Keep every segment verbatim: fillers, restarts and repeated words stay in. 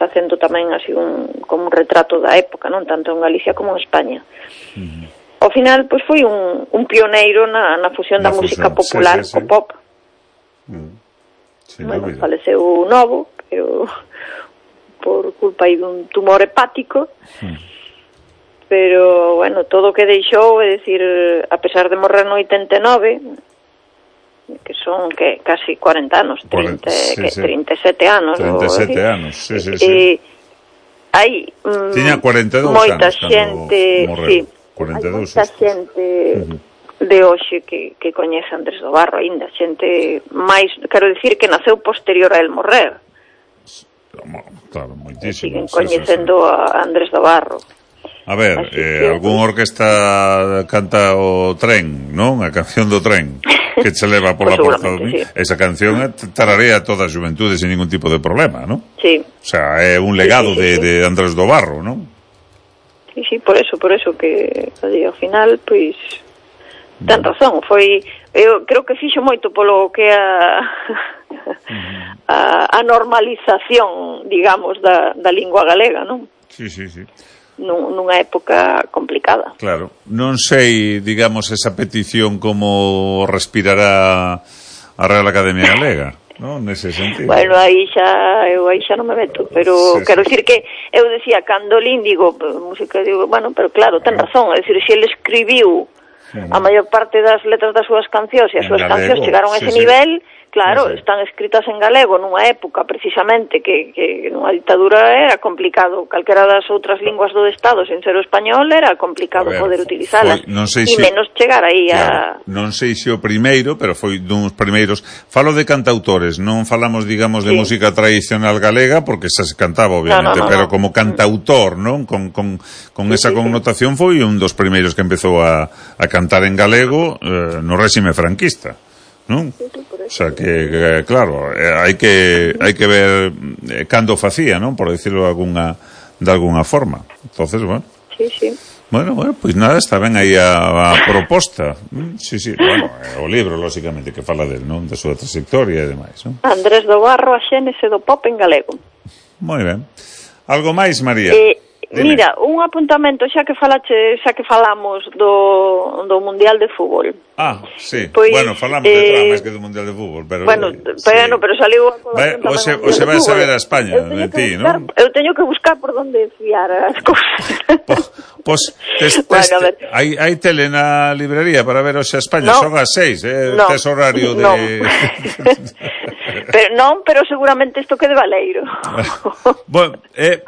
facendo tamén así un, como un retrato da época, non tanto en Galicia como en España. Uh-huh. Ao final, pois foi un, un pioneiro na, na fusión na da fusión. música popular sí, sí, sí. co pop. Uh-huh. Bueno, faleceu novo, pero por culpa aí dun tumor hepático. Uh-huh. Pero, bueno, todo o que deixou, é dicir, a pesar de morrer no oitenta e nove, que son que casi cuarenta anos, trinta, sí, que, sí. trinta e sete anos. trinta e sete anos, sí, sí, sí. E hai mm, tiña cuarenta e dous moita anos xente, sí, cuarenta e dous hai moita xente uh-huh. de hoxe que, que coñece Andrés do Barro aínda, xente máis, quero dicir que naceu posterior a el morrer. Claro, moitísimo. Siguen coñecendo sí, sí, sí. a Andrés do Barro. A ver, eh, algún orquesta canta o Tren, non? A canción do Tren que se leva por la porta do... sí. Esa canción tararea toda a xuventude sin ningún tipo de problema, non? Sí. O sea, é un legado sí, sí, sí, de, de Andrés do Barro, non? Sí, sí, por eso, por eso que ao final, pois ten razón, foi eu creo que fixo moito polo que a a, a normalización, digamos, da, da lingua galega, non? Sí, sí, sí. Nunha época complicada. Claro, non sei, digamos, esa petición como respirará a Real Academia Galega, non? Nese sentido. Bueno, aí xa eu aí xa non me meto, pero sí, quero sí. dicir que eu decía cando Lin digo, música, digo, bueno, pero claro, ten razón, é dicir, se ele escribiu sí, a maior parte das letras das súas cancións e as súas cancións chegaron a ese sí, nivel, claro, sí, sí. están escritas en galego nunha época precisamente que, que nunha ditadura era complicado, calquera das outras linguas do Estado sen ser o español era complicado ver, poder utilizalas e si, menos chegar aí claro, a... Non sei se o primeiro, pero foi duns primeiros. Falo de cantautores, non falamos, digamos, de sí. música tradicional galega porque xa se cantaba, obviamente, no, no, no, pero no. como cantautor, non? Con, con, con sí, esa sí, connotación foi un dos primeiros que empezou a, a cantar en galego eh, no réxime franquista, non? Sí, sí, o sea que, que claro, eh, hai que hai que ver eh, cando facía, non? Por decirlo de alguna de alguna forma. Entonces, bueno. Sí, sí. Bueno, bueno, pois pues nada, está ben aí a, a proposta. Sí, sí, bueno, o libro, lógicamente, que fala del, non? Da súa trayectoria e demais, non? Andrés do Barro, a xénese do pop en galego. Moi ben. Algo máis, María? Eh, mira, un apuntamento, xa que falache, xa que falamos do, do Mundial de Fútbol. Ah, sí. Pois, bueno, falamos eh, de todo máis que do Mundial de Fútbol, pero bueno, eh, pero, sí. pero saliu a colación tamén. Oxe, oxe vai saber a España de ti, non? Eu teño que buscar por onde fiar as cousas. Pois, tes, tes, bueno, hai, hai tele na librería para ver oxe a España, no, son as seis, eh, no, tes horario de... No. pero non, pero seguramente isto quede valeiro. bueno, eh,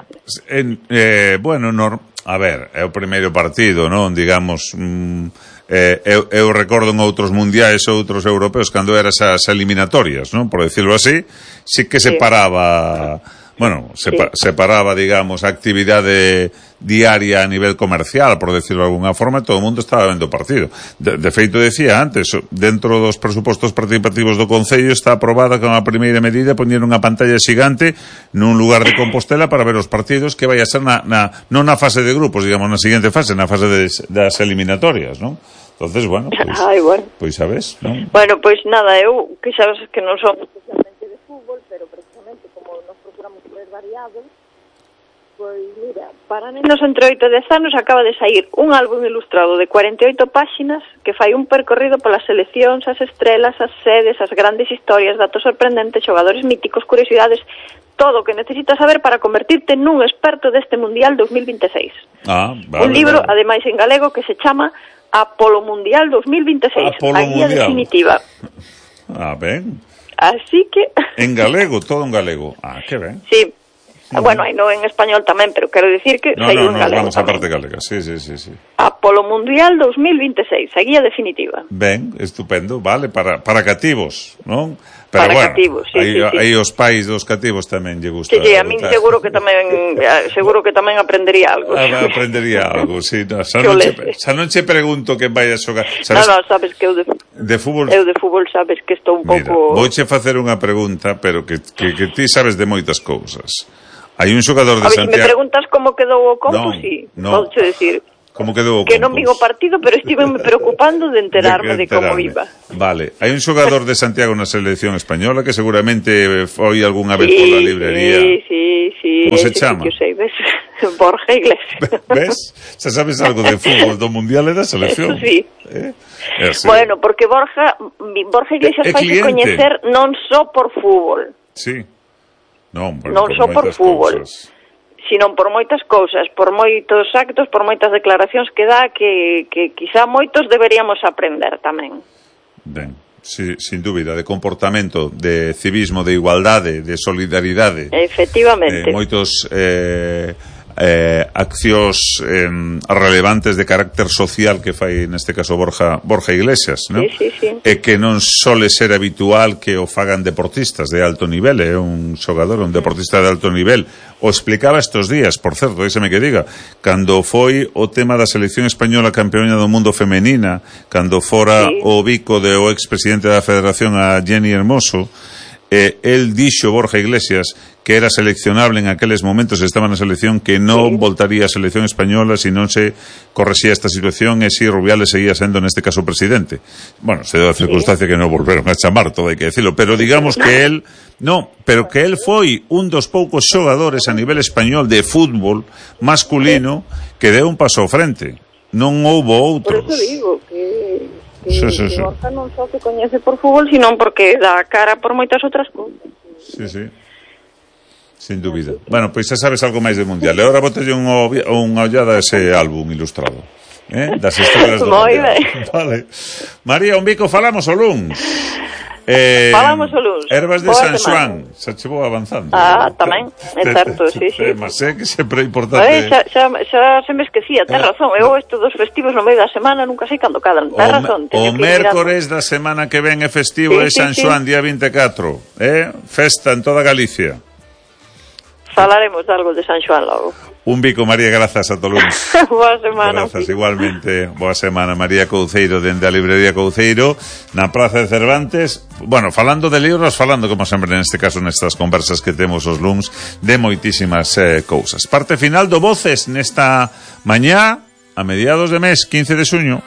en, eh, bueno, no, a ver, é o primeiro partido, non? Digamos... Mm, Eh, eu, eu recordo en outros mundiais ou outros europeos cando eran esas eliminatorias, non? Por decirlo así, sí que separaba, bueno, sepa, sí. separaba, digamos, a actividade diaria a nivel comercial, por decirlo de alguna forma, todo o mundo estaba vendo o partido. De, de feito, decía antes, dentro dos presupostos participativos do Concello está aprobada como a primeira medida poñer unha pantalla xigante nun lugar de Compostela para ver os partidos que vai a ser na, na, non na fase de grupos, digamos, na seguinte fase, na fase de, das eliminatorias, non? Entonces, bueno, pois, pues, Ay, bueno. pues sabes, non? Bueno, pois pues nada, eu que sabes que non son especialmente de fútbol, pero precisamente como nos procuramos ser variados, pois mira, para nenos entre oito e dez anos acaba de sair un álbum ilustrado de cuarenta e oito páxinas que fai un percorrido polas seleccións, as estrelas, as sedes, as grandes historias, datos sorprendentes, xogadores míticos, curiosidades, todo o que necesitas saber para convertirte nun experto deste Mundial dos mil veintiséis. Ah, vale, un libro, vale. ademais en galego, que se chama Apolo Mundial dos mil veintiséis, Apolo a guía Mundial. definitiva. Ah, ben. Así que... En galego, todo en galego. Ah, que ben. Sí. Uh-huh. Bueno, hai no en español tamén, pero quero dicir que no, sei no, un no, galego. vamos a parte galega, sí, sí, sí, sí. Apolo Mundial dos mil veintiséis, a guía definitiva. Ben, estupendo, vale, para, para cativos, non? Pero para bueno, cativos, sí, aí, sí, sí. aí os pais dos cativos tamén lle gusta. Sí, sí, a min seguro que tamén seguro que tamén aprendería algo. Ah, aprendería algo, sí, no, xa, non che, xa non che pregunto que vai a xogar. Sabes, no, no, sabes que eu de, de fútbol, eu de fútbol sabes que estou un mira, pouco... vouche facer unha pregunta, pero que, que, que ti sabes de moitas cousas. Hai un xogador de a ver, Santiago... Se me preguntas como quedou o compo, no, sí, no. podo decir... Como quedou o que non vin o partido, pero estive me preocupando de enterarme de, de como iba. Vale, hai un xogador de Santiago na selección española que seguramente foi algunha vez sí, pola librería. Sí, sí, sí. Como se chama? Sí, sei, ves? Borja Iglesias. Ves? Xa sabes algo de fútbol do mundial e da selección. Eso sí. Eh? Bueno, porque Borja Borja Iglesias faise coñecer non só por fútbol. Sí. Non, por, non só por fútbol. Cousas. Sino por moitas cousas, por moitos actos, por moitas declaracións que dá que, que quizá moitos deberíamos aprender tamén. Ben, sí, sin dúbida, de comportamento, de civismo, de igualdade, de solidaridade. Efectivamente. Eh, moitos eh, eh, accións eh, relevantes de carácter social que fai, neste caso, Borja, Borja Iglesias, ¿no? Sí, sí, sí. E que non sole ser habitual que o fagan deportistas de alto nivel, é eh? un xogador, un deportista de alto nivel. O explicaba estos días, por certo, déxeme que diga, cando foi o tema da selección española campeona do mundo femenina, cando fora sí. o bico de o expresidente da Federación a Jenny Hermoso, eh, el dixo, Borja Iglesias, que era seleccionable en aqueles momentos, estaba na selección, que non sí. voltaría a selección española se non se corresía esta situación e si Rubiales seguía sendo neste caso presidente. Bueno, se deu a circunstancia sí. que non volveron a chamar, todo hai que decirlo, pero digamos que él no, pero que él foi un dos poucos xogadores a nivel español de fútbol masculino que deu un paso ao frente. Non houbo outros. Por eso digo que que, sí, sí, sí. que Borja non só se coñece por fútbol, sino porque dá cara por moitas outras cousas. Sí, sí. Sin dúbida. Bueno, pois xa sabes algo máis de mundial. E agora botelle unha, unha ollada a ese álbum ilustrado. Eh? Das estrelas do mundial. Vale. María, un bico, falamos o luns. Eh, falamos o luns. Ervas de San Xoán. Xa che vou avanzando. Ah, tamén. É certo, sí, sí. Mas é que sempre é importante. Xa, xa, xa se me esquecía, ten razón. Eu estes dos festivos no medio da semana nunca sei cando cadan. Ten razón. O mércores da semana que ven é festivo, é San Xoán, día vinte e catro. Eh? Festa en toda Galicia. Falaremos de algo de San Xoán logo. Un bico, María, grazas a todos. Boa semana. Grazas, igualmente. Boa semana, María Couceiro, dende a librería Couceiro, na Praza de Cervantes. Bueno, falando de libros, falando, como sempre, neste caso, nestas conversas que temos os luns, de moitísimas eh, cousas. Parte final do Voces nesta mañá, a mediados de mes, quince de xuño.